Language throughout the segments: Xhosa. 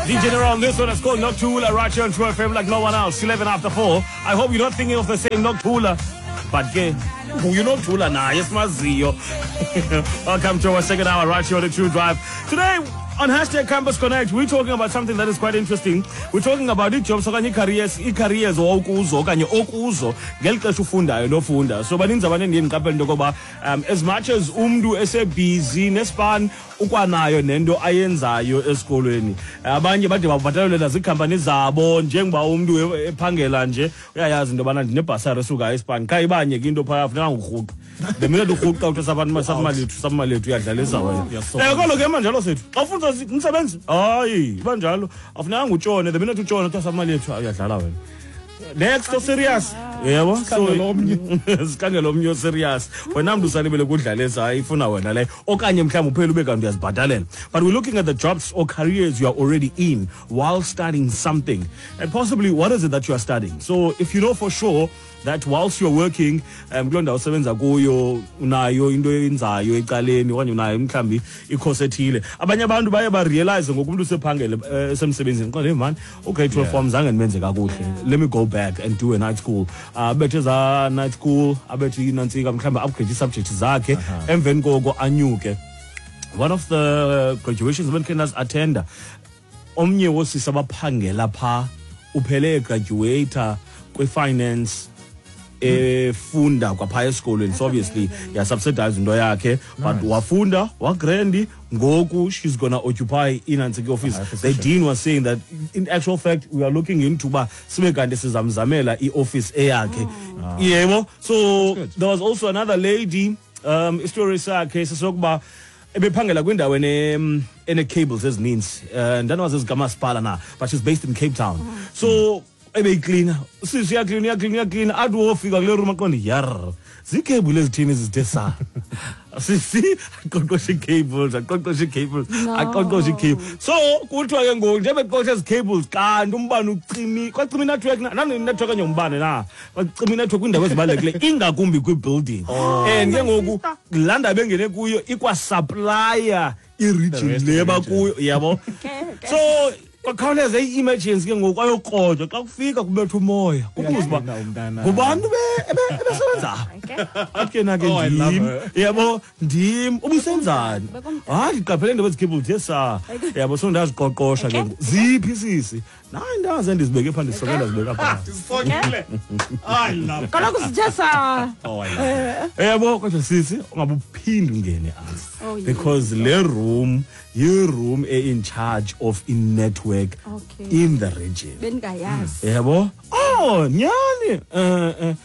DJ Nero on this one. It's called Noctula right here on True FM like no one else. 11 after 4. I hope you're not thinking of the same Noctula. But ke, you Noctula na, esimaziyo. Welcome to our second hour right here on the True Drive. Today on #CampusConnect, we're talking about something that is quite interesting. We're talking about ii-jobs okanye ii-careers owawukuzo okanye okuzo ngeli xesha ufundayo nofunda. So baninzi abantu endiye ndiqaphele into yokoba as much as umntu esebhizi nespan ukwanayo nento ayenzayo esikolweni. Abanye bade babhatalelwe naziikhampani zabo, njengoba umntu ephangela nje uyayazi into yobana ndinebhasari esuka espan, qha ibanye ke into phaya funeka ngurhuqa. The minute urhuqa uthi saphamalethu uyadlalisa wena. Kolo ke manjalo sethu. Xa ufunda umsebenzi, hayi, iba njalo. Afunekanga utshone, the minute utshone uthi saphamalethu uyadlala wena. Next o serious. Yebo, sikhangela omnye serious. Wena mntu usalibele kudlalisa, hayi ifuna wena leyo. Okanye mhlawumbi uphele ube kanti uyazibhatalela. But we're looking at the jobs or careers you are already in while studying something. And possibly what is it that you are studying? So if you know for sure that whilst you're working, kuloo ndawo usebenza kuyo unayo into oyenzayo ecaleni okanye unayo mhlawumbi ikhosi ethile. Abanye abantu baye barealize ngoku umntu usephangele esemsebenzini, qonde, hey man, okay, 12 form zange ndimenze kakuhle. Let me go back and do a night school. Abethe za night school, abethe inantsika mhlawumbi upgrade ii-subjects zakhe, emveni koko anyuke. One of the graduations bendikhe ndazi-attenda, omnye woosisi abaphangela phaa uphele egraduata kwi-finance efunda kwapha esikolweni. So obviously yasubsidize into yakhe, but wafunda wagrandi, ngoku she's gonna occupy inantsika office. The dean was saying that in actual fact we are looking into uba sibe kanti sizamzamela i-office eyakhe. Yebo, so there was also another lady, istory sakhe sesokuba ebephangela kwindawo ene-cables ezininzi, ndanawazi ezikamasipala na, but she's based in Cape Town. So ebeyiklina sisi, uyaklina uyaklina uyaklina, athi wofika kule room aqonde, yar, ziikhebhuli ezithini ezithe sa sisi, aqoqoshe ii-cables, aqoqoshe ii-cables, aqoqoshe ii-cables. So kuthiwa ke ngoku njengoba eqoqoshe ezi cables, kanti umbane ucimi, kwacima inetwork na nani-network okanye umbane na, kwacima inetwork kwiindawo ezibalulekileyo ingakumbi kwi-building. And ke ngoku laa ndawo bengene kuyo ikwasupplya i-region le bakuyo, yabo. So kwakhawuleza i-emergency ke ngoku, ayokrojwa. Xa kufika kubetha umoya, kubuza uba ngubani ebesebenza apha, athi ke na ke ndim, yabo, ndim. Ubusenzani? Hayi, ndiqaphele into ezi-cable zithe yabo, so ndaziqoqosha ke ngoku. Ziphi sisi? Nayi, ndaze ndizibeke phaa, ndisonke ndazibeka phaa. Kaloku sithe sa. Yabo, kodwa sisi ungabe uphinde ungene apha, because le room yi-room e-in charge of i-network in the region. Bendingayazi. Yabo, oh nyani.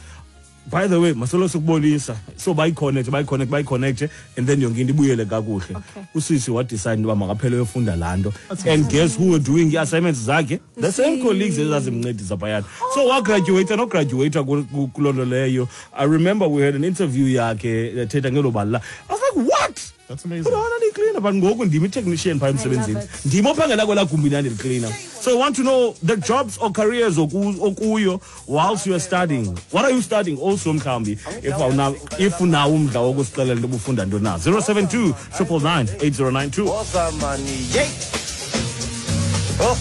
By the way, masolo sikubonisa, so bayiconnect, bayiconnect, bayiconnect, and then yonke into ibuyele kakuhle. Usisi wadecide into yoba makaphele uyofunda laa nto, and guess who were doing ii-assignments zakhe? The same colleagues ezazimncedisa phayana. So wagraduata nograduata kuloo nto leyo. I remember we had an interview yakhe ethetha ngelo bali la. I was like, what? That's amazing. Kodwa ndiyiklina, but ngoku ndim i-technician phaa emsebenzini, ndim ophangela kwelaa gumbi ndandiliklina. So I want to know the jobs or careers okuyo whilst you are studying. What are you studying also mhlawumbi, if unawo umdla wokusixelela into obufunda ntoni na? 072 999 8092. Woza mani, yey. Oh.